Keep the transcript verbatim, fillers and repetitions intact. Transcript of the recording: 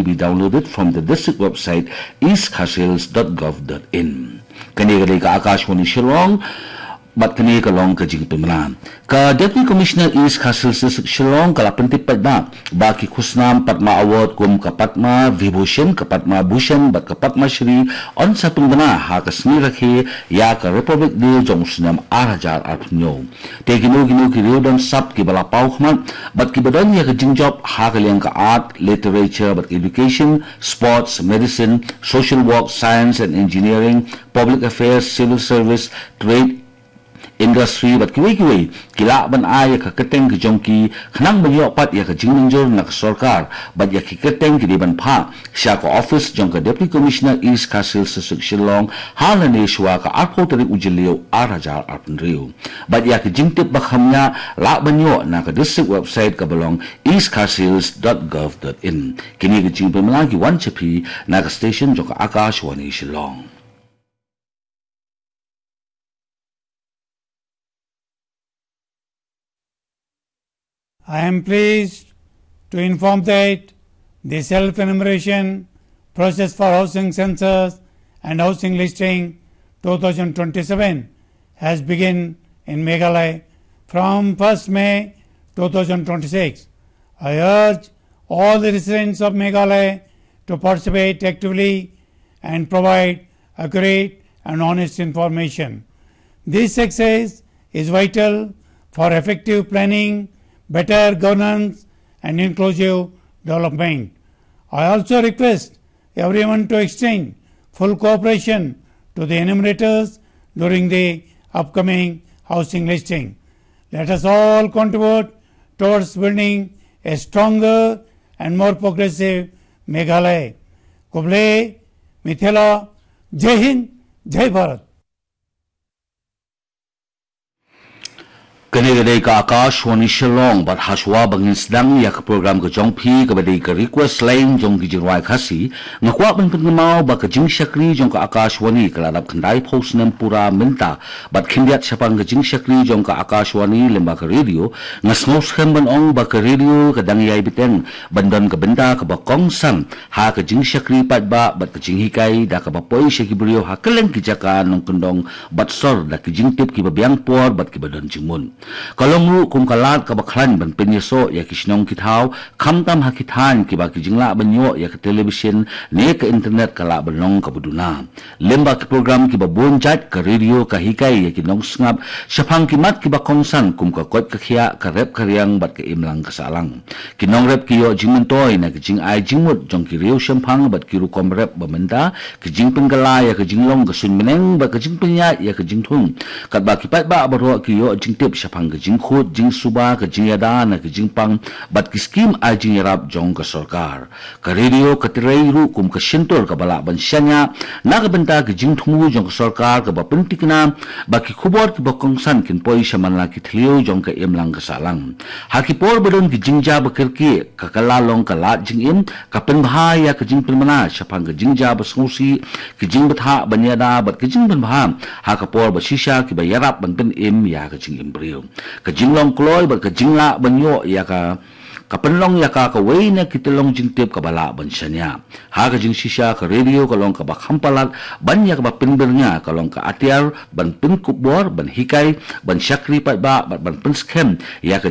be downloaded from the district website east khasi hills dot gov dot in. Kane ka dei ka Akashvani Shillong, bad kane ka long ka jingpynbna. Ka Deputy Commissioner East Khasi Hills District Shillong ka la pyntip paidbah ba ki khusnam Padma Award kum ka Padma Vibhushan, ka Padma Bhushan bad ka Padma Shri yn sa pynbna ha ka sngi rakhe ïa ka Republic Day jong u snem ar hajar arphew hynñiew. Te kino kino ki riew don sap kiba la paw khmat bad kiba don ïa ka jingjop ha ka liang ka art, literature bad education, sports, medicine, social work, science and engineering, public affairs, civil service, trade, industry bad kiwei kiwei ki lah ban ai ïa ka kyrteng ka jong ki khnang ban ïoh pat ïa ka jingmynjur na ka sorkar bad ïa ki kyrteng ki dei ban phah sha ka office jong ka Deputy Commissioner East Khasi Hills District Shillong ha lane shuwa ka arphew tarik u Jylliew ar hajar arphew hynriew. Bad ïa ka jingtip ba kham ïa lah ban ïoh na ka district website kaba long east khasi hills dot gov dot in. Kine ki jingpynbna ki wan sha phi na ka station jong ka Akashvani Shillong. I am pleased to inform that the self-enumeration process for housing census and housing listing two thousand twenty-seven has begun in Meghalaya from first May two thousand twenty-six. I urge all the residents of Meghalaya to participate actively and provide accurate and honest information. This success is vital for effective planning, better governance, and inclusive development. I also request everyone to extend full cooperation to the enumerators during the upcoming housing listing. Let us all contribute towards building a stronger and more progressive Meghalaya. Khublei, Mithila, Jai Hind, Jai Bharat. Kane ka dei ka Akashvani Shillong bad ha shuwa ba ngin sdang ïa ka program ka jong phi kaba dei ka request line jong ki jingrwai Khasi, nga kwah ban pynkynmaw ba ka jingshakri jong ka Akashvani ka la dap khyndai phew snem pura mynta bad khyndiat shaphang ka jingshakri jong ka Akashvani lyngba ka radio, nga sngewskhem ban ong ba ka radio ka dang ïai bteng ban don ka bynta kaba kongsan ha ka jingshakri paidbah bad ka jinghikai da kaba poi sha ki briew ha kylleng ki jaka nongkyndong bad sor da ki jingtip kiba biang por bad kiba don jingmut. Ka long ruh kum ka lad kaba khlaiñ ban pynïasoh ïa ki shnong ki thaw, khamtam ha ki thaiñ kiba ki jinglah ban ïoh ïa ka television ne ka internet ka lah ban long kaba duna. Lyngba ki program kiba bun jait, ka radio ka hikai ïa ki nongsngap shaphang ki mat kiba kongsan kum ka koit ka khiah, ka rep ka riang bad ka imlang ka sahlang. Ki nongrep ki ïoh jingmyntoi na ki jingai jingmut jong ki riew shemphang bad ki rukom rep ba mynta, ki jingpynkylla ïa ka jinglong ka suiñ bneng bad ka jingpynïaid ïa ka jingthung. Katba ki paidbah baroh ki ïoh jingtip shaphang ka jingkhuid jingsuba, ka jingïada na ka jingpang bad ki skim ai jingïarap jong ka sorkar. Ka radio ka trei ruh kum ka shyntur kaba lah ban shaniah na ka bynta ka jingthmu jong ka sorkar kaba pynthikna ba ki khubor kiba kongsan kin poi sha man la ki thliew jong ka imlang ka sahlang. Ha ki por ba don ki jingjia ba kyrkieh, ka kylla long ka lad jingim, ka pynbha ïa ka jingpynbna shaphang ka jingjia ba sngewsih, ka jingbthah ban ïada bad ka jingpynbha ha ka por ba shisha kiba ïarap ban pynim ïa ka jingim briew. Ka jinglong kloi bad ka jinglah ban ïoh ïa ka ka pynlong ïa ka kawei na ki tyllong jingtip kaba lah ban shaniah. Ha ka jingshisha ka radio ka long kaba kham palat ban ïa kaba pynbyrngia, ka long ka atiar ban pynkup bor, ban hikai, ban shakri paidbah bad ban pynskhem ïa ka